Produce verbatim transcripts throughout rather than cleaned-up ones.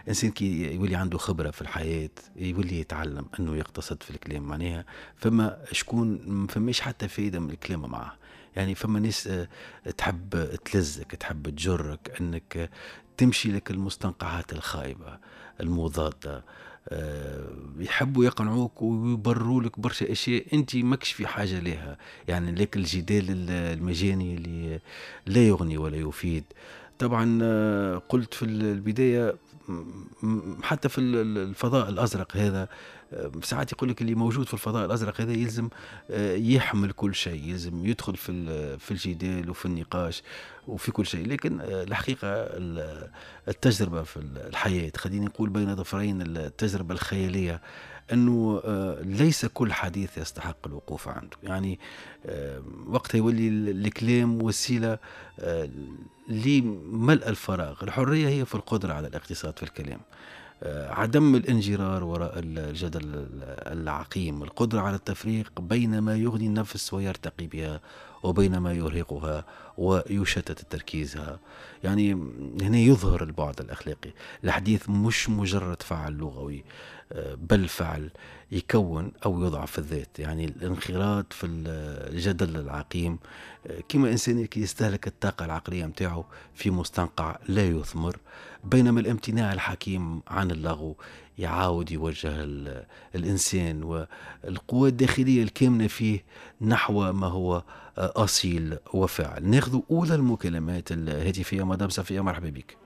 الانسان كي يولي عنده خبره في الحياة يولي يتعلم انه يقتصد في الكلام. معناها فما شكون ما فماش حتى فايده من الكلام معاه، يعني فما ناس آه، تحب تلزك، تحب تجرك انك تمشي لك المستنقعات الخايبة المضاده، آه، يحبوا يقنعوك ويبرروا لك برشا اشياء انت ماكش في حاجة لها، يعني لك الجدال المجاني اللي لا يغني ولا يفيد. طبعا آه، قلت في البداية حتى في الفضاء الازرق هذا، آه، ساعات يقول لك اللي موجود في الفضاء الازرق هذا يلزم يحمل كل شيء، يلزم يدخل في في الجدال وفي النقاش وفي كل شيء، لكن الحقيقة التجربة في الحياة، خليني نقول بين ظفرين التجربة الخيالية، انه آه، ليس كل حديث يستحق الوقوف عنده. يعني آه، وقتها يولي الكلام وسيلة آه، لملء الفراغ. الحرية هي في القدرة على الاقتصاد في الكلام، عدم الانجرار وراء الجدل العقيم، القدرة على التفريق بين ما يغني النفس ويرتقي بها وبين ما يرهقها ويشتت تركيزها. يعني هنا يظهر البعد الأخلاقي. الحديث مش مجرد فعل لغوي، بل فعل يكون أو يضعف الذات. يعني الانخراط في الجدل العقيم كما إنسان يستهلك الطاقة العقلية متاعه في مستنقع لا يثمر، بينما الامتناع الحكيم عن اللغو يعاود يوجه الإنسان والقوة الداخلية الكامنة فيه نحو ما هو أصيل وفاعل. ناخذ أولى المكالمات الهاتفية. مدام صفية، مرحبا بك.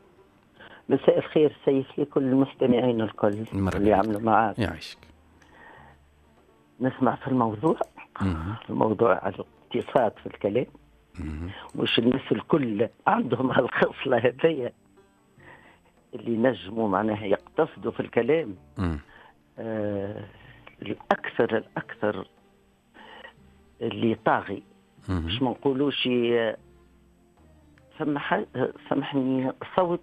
مساء الخير سيف لكل المستمعين الكل اللي عملوا معاك. يعيشك. نسمع في الموضوع، مم. الموضوع على الاقتصاد في الكلام. مم. مش الناس الكل عندهم هالخصلة هذيا اللي نجموا معناها يقتصدوا في الكلام. آه الأكثر الأكثر اللي طاغي، مش ما نقولوش سمح سامحني صوت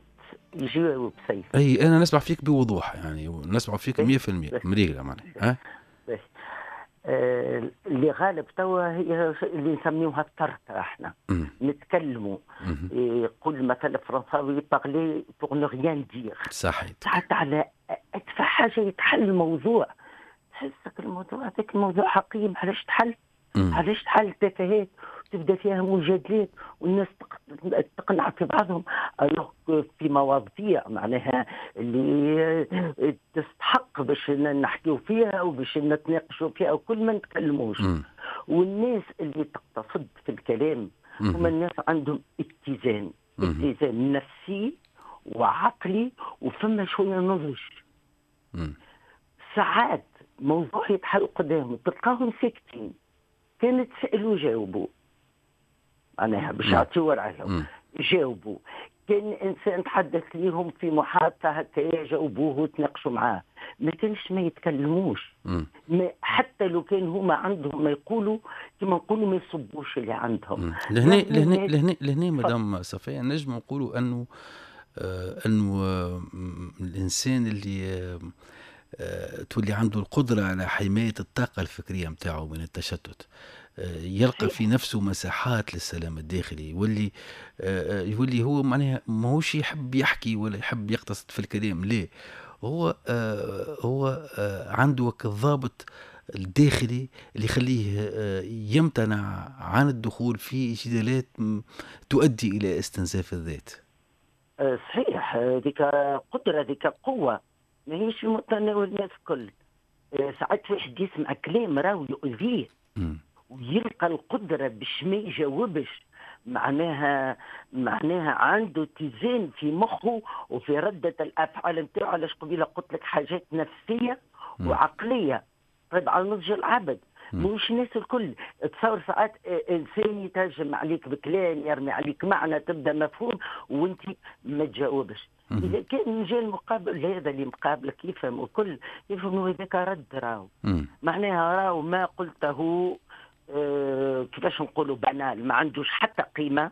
يجاوب سيف. اي انا نسمع فيك بوضوح، يعني نسمع فيك مية في المية مريقله معناها. ها آه اللي غالب توا هي اللي نسميوها التركة احنا. مم. نتكلموا، يقول مثلا الفرنساوي parler pour ne rien dire. صحيح. ساعات على ادفع حاجة يتحل الموضوع، تحسك الموضوع هذاك الموضوع حقيم، علاش تحل؟ علاش تحل تفاهات تبدا فيها مجادلات والناس تقنع في بعضهم، في مواضيع معناها اللي تستحق باش نحكيو فيها وباش نتناقشوا فيها وكل ما نتكلموش. والناس اللي تقتصد في الكلام هم الناس عندهم اتزان، اتزان نفسي وعقلي، وفما شوية نضج. ساعات موضوع يتحل قدامهم تلقاهم ساكتين، كانت تسألوا جاوبوا معناها باش يعطيو رأيهم جاوبوا، كان انسان تحدث ليهم في محادثة هكا جاوبوه وتناقشوا معاه، ما كانش ما يتكلموش. ما حتى لو كان هما عندهم ما يقولوا، كما نقولوا ما يصبوش اللي عندهم. لهنا لهنا لهنا لهنا مدام صفيه نجم نقولوا انه آه انه آه الانسان اللي آه آه تولي عنده القدرة على حماية الطاقة الفكرية متاعه من التشتت، يلقى في نفسه مساحات للسلام الداخلي، يولي يولي هو معناها ماهوش يحب يحكي ولا يحب يقتصد في الكلام، ليه؟ هو هو عنده الضابط الداخلي اللي يخليه يمتنع عن الدخول في جدالات تؤدي إلى استنزاف الذات. صحيح، ذيك قدرة، ذيك قوة ماهيش في متناول الناس الكل. ساعات واحد يسمع كلام راهو يؤذيه ويلقى القدرة باش ما يجاوبش، معناها معناها عنده اتزان في مخه وفي ردة الأفعال نتاعو. علاش قبيلة قلت لك حاجات نفسية وعقلية طبعا نضج العبد، مش الناس الكل. تصور ساعات انسان يتهجم عليك بكلام، يرمي عليك معنى تبدا مفهوم وانت ما تجاوبش. اذا كان جا المقابل هذا اللي مقابلك يفهم وكل يفهم، هذاك رد راهو معناها راهو ما قلته اه كيفاش نقولوا بنال، ما عندوش حتى قيمة،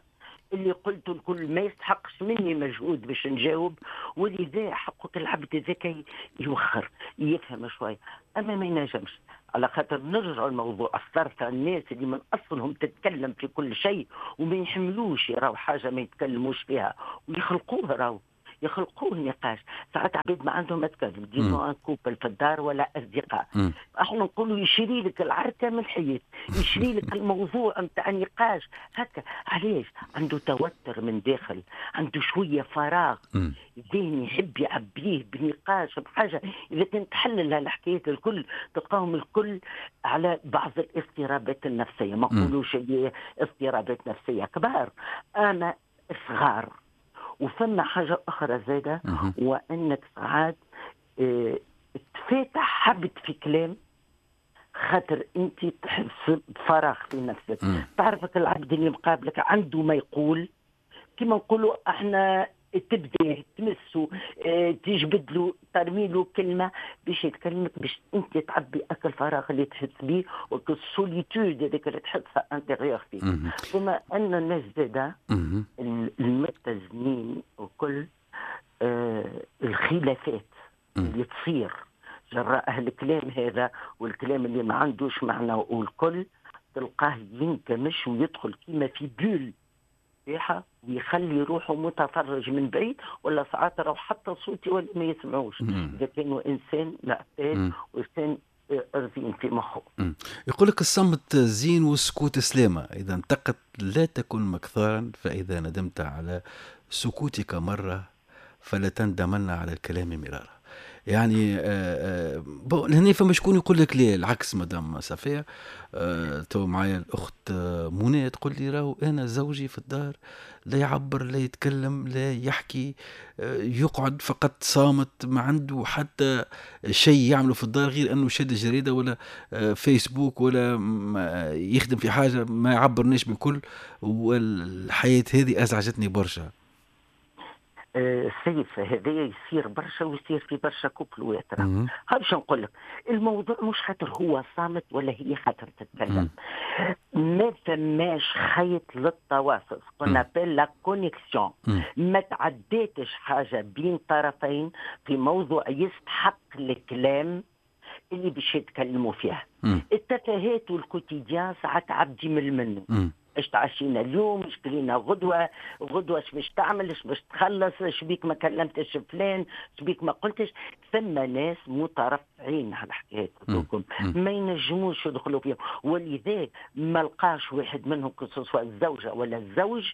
اللي قلته الكل ما يستحقش مني مجهود باش نجاوب، ولذا حقك العبد ذاك يوخر يفهم شوية، اما ما ينجمش. على خاطر نرجع الموضوع الثرثة، الناس اللي من اصلهم تتكلم في كل شيء وما يحملوش يراو حاجة ما يتكلموش فيها ويخلقوها، راهو يخلقوه نقاش. ساعات عباد ما عندهم تكلم disons un couple في الدار ولا اصدقاء، احنا نقولوا يشري لك العركه من الحيط، يشري لك الموضوع نتاع النقاش هكا. علاش؟ عنده توتر من داخل، عنده شوية فراغ ذهني يحب يعبيه بنقاش بحاجة. اذا كنت تحلل هالحكايات الكل تلقاهم الكل على بعض الاضطرابات النفسية، ما نقولوش اضطرابات نفسية كبار اما صغار. وفما حاجة اخرى زاده، وانك ساعات اه تفاتح حبت في كلام خاطر انت تحس بفراغ في نفسك. تعرفك العبد اللي مقابلك عنده ما يقول، كما نقولوا احنا تبدا تمسه اه تجبد له ترمي له كلمة باش يتكلمك، باش انت تعبي اك الفراغ اللي تحس به وك ال solitude هذيك اللي تحسها intérieure فيك. ثم ان الناس زاده المتزنين وكل اه الخلافات اللي تصير جراء الكلام هذا والكلام اللي ما عندوش معنى والكل، تلقاه ينكمش ويدخل كيما في bulle ويخلي روحه متفرج من بعيد، ولا ساعات راهو حتى صوتي ولا ما يسمعوش اذا كانوا انسان معتاد وانسان رزين في مخه. يقول لك الصمت زين والسكوت سلامه، اذا انتقت لا تكن مكثارا، فاذا ندمت على سكوتك مرة فلا تندمن على الكلام مرارا. يعني آه آه هنا فما شكون يقول لك ليه العكس. مدام صفية آه تو معايا الاخت منى تقول لي راهو انا زوجي في الدار لا يعبر لا يتكلم لا يحكي، آه يقعد فقط صامت، ما عنده حتى شيء يعمله في الدار غير انه شاد الجريدة ولا آه فيسبوك ولا يخدم في حاجة، ما يعبرناش بالكل، والحياة هذه ازعجتني برشا. السيف هذا يصير برشا ويصير في برشا كوبلوات. باش نقول لك الموضوع مش خاطر هو صامت ولا هي خاطر تتكلم، ما فماش خيط للتواصل، ce qu'on appelle la connexion. ما تعديتش حاجة بين طرفين في موضوع يستحق الكلام اللي باش يتكلموا فيها. التفاهات وال quotidien ساعات عبدي من منه، اش تعشينا اليوم، اش كلينا غدوه، غدوه اش باش تعمل، اش باش تخلص، اش بيك ما كلمتش فلان، اش بيك ما قلتش. ثم ناس مترفعين على الحكايات هذوكم ما ينجموش يدخلوا فيهم، ولذلك ما لقاش واحد منهم que ce soit الزوجة ولا الزوج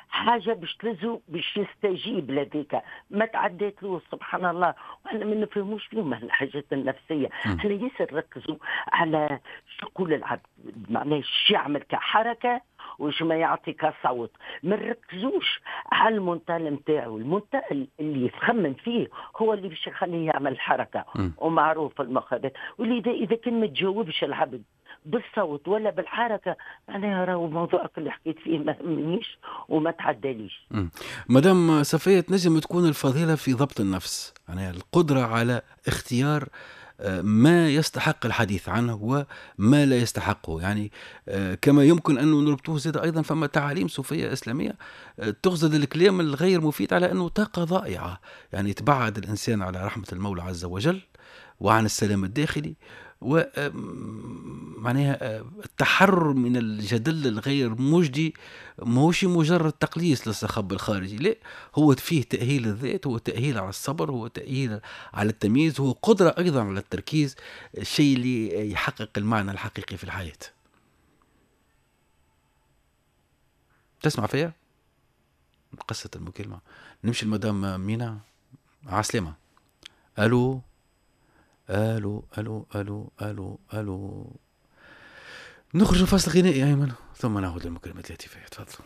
حاجة باش تلزو باش يستجيب لذيك، ما تعديت له سبحان الله. واحنا ما نفهموش فيهم الحاجات النفسية، احنا ياسر نركزوا على شو يقول العبد، معناه شو يعمل كحركه وش ما يعطي كصوت، ما نركزوش على ال mental نتاعو. ال mental اللي يخمم فيه هو اللي باش يخليه يعمل حركة، ومعروف المخابئ. ولذا اذا كان ما تجاوبش العبد بالصوت ولا بالحركة معناها راهو موضوعك اللي حكيت فيه ما همنيش وما تعداليش. مدام صفية، تنجم تكون الفضيلة في ضبط النفس، يعني القدرة على اختيار ما يستحق الحديث عنه وما لا يستحقه. يعني كما يمكن أن نربطوه زاد أيضا فما تعاليم صوفية إسلامية تغزل الكلام الغير مفيد على أنه طاقة ضائعة، يعني تبعد الإنسان على رحمة المولى عز وجل وعن السلام الداخلي، ومعناها التحرر من الجدل الغير مجدي ماهوش مجرد تقليص للصخب الخارجي، لا، هو فيه تأهيل الذات، هو تأهيل على الصبر، هو تأهيل على التمييز، هو قدرة أيضا على التركيز، الشيء اللي يحقق المعنى الحقيقي في الحياة. تسمع فيها قصة المكالمة؟ نمشي المدام مينا، عسلامة. ألو الو الو الو الو الو. نخرج فاصل غنائي ايمن ثم نعود للمكالمات الهاتفية. تفضل.